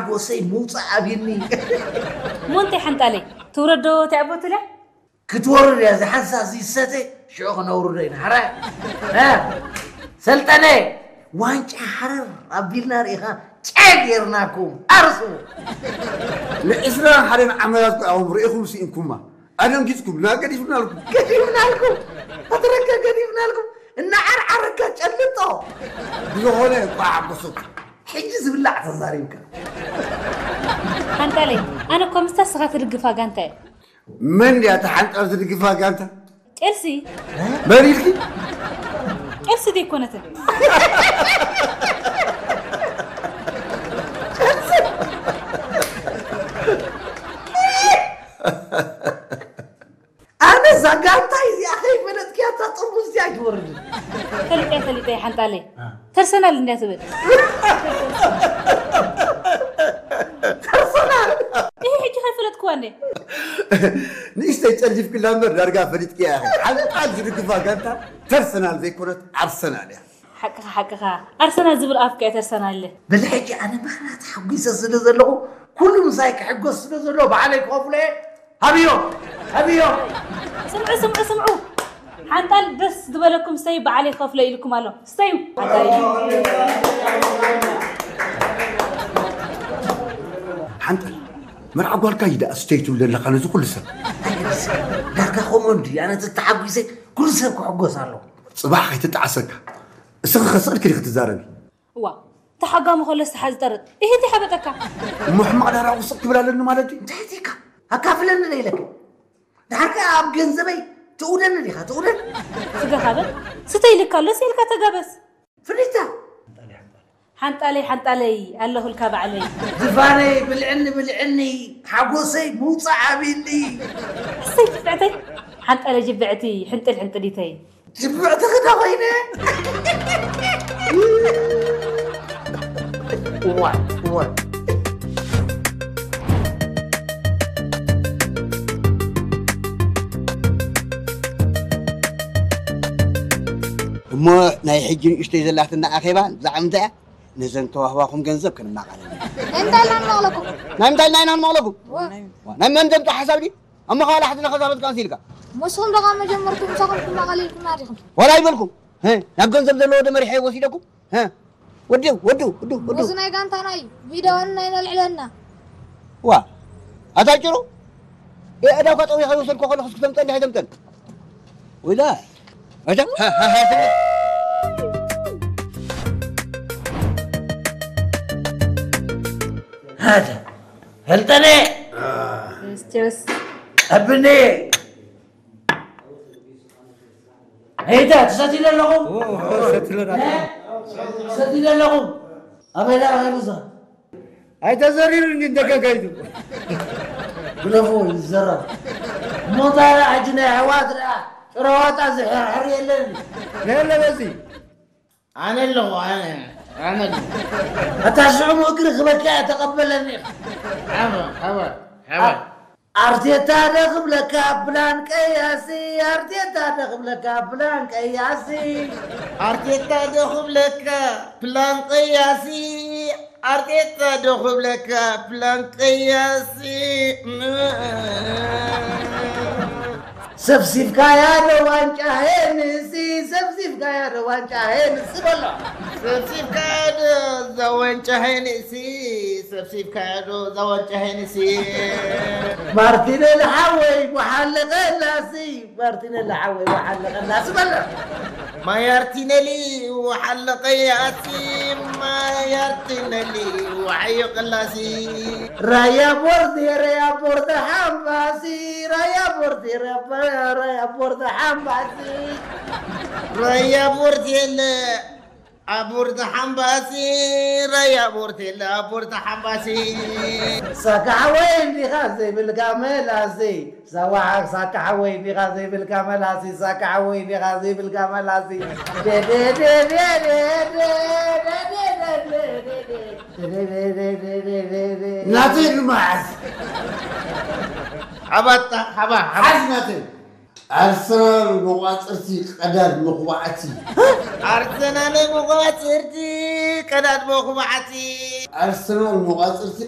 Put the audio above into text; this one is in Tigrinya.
ጎሰይ ምውፃእ ኣብይኒ። እሞ እንታይ ሓንጣለይ ትውረዶ ተዕቦትለ ክትወርድ እያ ዝሓንሳ ዝይሰተ ሽዑ ክነውርዶ ኢና ሓራይ። እ፣ ሰልጠነ ዋንጫ ሓረር ኣቢልና ርኢኻ ጨ ጌርናኩም ኣርሱ። ንዕስራን ሓደን ዓመታት እኮ ኣኹም ርኢኹም ስኢንኩማ። ኣደንጊጽኩም ና ገዲፍናልኩም። ገዲፍናልኩም፣ ፈትረካ ገዲፍናልኩም። እናዓርዓረካ ጨልጦ። ብዝኾነ እንኳዕ ሓጎሰኩም። ሕጂ ዝብላዕ ተዛሪብካ። ሓንጣለይ ኣነ እኮ ምስታ ስኻ ትድግፋ ጋንታ እየ መን ድያ እታ ሓንጣል ዝድግፋ ጋንታ? ጨልሲ መን ኢልኪ? ጨልሲ ደይኮነትን ኣነ እዛ ጋንታ እዚኣ ከይፈለጥክያ እታ ጥርሙዝ እዚኣ ኣይትወርድን። ፈሊጠ ፈሊጠ ሓንጣለይ ተርሰናል እንድያ ትብል ተርሰናል ይሄ ሕጂ ከይፈለጥክዋ እንደ ንእሽተይ ጨልፊፍክላ እምበር ዳርጋ ፈሊጥክያ ኢኺ። ሓንጣል ዝድግፋ ጋንታ ተርሰናል ዘይኮነት ኣርሰናል እያ። ሓቅኻ ሓቅኻ ኣርሰናል ዝብል ኣፍካ እየ ተርሰናል ኢለ በዚ ሕጂ ኣነ ምኽንያት ሓጒሰ ስለ ዘለኹ ኩሉ ምሳይ ክሕጎስ ስለ ዘለዎ ባዕለይ ክኸፍሎ እየ። ሃብዮ ሃብዮ ስምዑ ስምዑ ስምዑ ሓንጣል ደስ ዝበለኩም ስተዩ በዓለይ ክኸፍሎ ኢልኩም ኣሎ ስተዩ ሓንጣል ሓንጣል መርዓ ጓልካ እዩ ደኣ ስተይ ትብል ዘለኻ ነዚ ኩሉ ሰብ ዳርጋ ከምኡ እንዲ ኣነ ተተሓጒሰ ኩሉ ሰብ ክሕጎስ ኣለዎ። ጽባሕ ከይትጣዓሰካ እስኺ ከስቕልኪ ዲኺ ትዛረቢ እዋ ተሓጋሚ ከሎ ዝተሓዝ ጠርጥ ይህቲ ሓበጠካ እሞ ሕማቕ ዳራዊ ስቕ ክብል ኣለኒ ማለት እዩ እንታይ ቲካ ኣካፍለኒ ዶ ኢለካ ድሓር ከኣ ኣብ ገንዘበይ ትእውደኒ ዲኻ ትእውደኒ ስጋኻ በል ስተይ ኢልካ ኣሎ ስኢልካ ተጋበስ ፍሊታ ሓንጣለይ ሓንጣለይ ኣለኹልካ ባዕለይ ዝፋነይ ብልዕኒ ብልዕኒ ሓጎሰይ ምውፃእ ኣቢኒ እሰይ ትፍዕተይ ሓንጣለይ ጅብዕቲ ሕንጥል ሕንጥሊተይ ጅብዕቲ ክዳ ኮይነ እዋ እዋ እሞ ናይ ሕጂ ንእሽተይ ዘላትና ኣኼባ ብዛዕባ ምንታይ እያ? ነዘን ተዋህባኹም ገንዘብ ክንማቓለል ኢና። እንታይ ኢልና ንመቕለኩም? ናይ ምንታይ ኢልና ኢና ንመቕለኩም? ዋ፣ ናይ መን ዘምፅኦ ሓሳብ ድዩ? ኣብ መኻላ ሓድና ከዛበት ካንሲ ኢልካ ምስኹም ደቓ መጀመርኩም ምሳኹም ክመቐል ኢልኩም ኣዲኹም? ዋላ ይበልኩም እ፣ ናብ ገንዘብ ዘለዎ ዶ መሪሐ ወሲደኩም እ፣ ወዱ ወዱ ወዱ ወዱ እዚ ናይ ጋንታና እዩ። ቪድዮን ናይ ነልዕለና። ዋ ኣታ ጭሩ የእዳውካ ጠዊኻ ይወሰድኮ ከለኹስ ክተምጠን ዲኻ ኣይተምጠን ወይዳ ኣታ ሃደ ፈልጠነ ቸርስ ኣብኔ ሄዳ ትሰትዩ ኣለኹም ትሰትዩ ኣለኹም ኣበይ ዳ ኸይብዛ ኣይተዘሪሩ እንዲ እንደገጋይቱ ግለፎ ይዘረብ ሞታ ዳ ሕጂ ናይ ኣሕዋት ዳ ጥረዋጣ ዝሕርሕር የለን ነለ በዚ ኣነ ኣለኹ ኣነ ኣነ ኣለኹ ኣታ ሽዑ እግሪ ክበካ እያ ተቐበለኒ ሓባ ሓባ ሓባ ኣርቴታ ዶ ክብለካ ፕላን ቀያሲ ኣርቴታ ዶ ክብለካ ፕላን ቀያሲ ኣርቴታ ዶ ክብለካ ፕላን ቀያሲ ኣርቴታ ዶ ክብለካ ፕላን ቀያሲ ሰብሲብካያ ዶ ዋንጫ ሄንሲ ሰብሲብካያ ዶ ዋንጫ ሄንሲ በሎ ሰብሲብካያ ዶ እዛ ዋንጫ ሄንሲ ሰብሲብካያ ዶ እዛ ዋንጫ ሄንሲ ማርቲኔሊ ሓወይ ወሓለቀላሲ ማርቲኔሊ ሓወይ ወሓለቀላሲ በሎ ማያርቲነሊ ወሓለቀያሲ ማያርቲነሊ ወሓየቀላሲ ራያ ቦርድ ራያ ቦርድ ሓምባሲ ራያ ቦርድ ራያ ቦርድ ሓምባሲ ራያ ቦርድ የለ ኣቦርታ ሓምባሲ ራያ ቦርቴላ ኣቦርታ ሓምባሲ ሳካ ሓወይ እንዲኻ ዘይብልካ መላሲ ሳዋዓ ሳካ ሓወይ እንዲኻ ዘይብልካ መላሲ ሳካ ሓወይ እንዲኻ ዘይብልካ መላሲ ናተይ ንመዓዝ ሓባጣ ሓባ ሓባ ሓዝ ናተይ ኣርሰናል መቋፅርቲ ቀዳድ መኹባዕቲ ኣርሰናል መቋፅርቲ ቀዳድ መኹባዕቲ ኣርሰናል መቋፅርቲ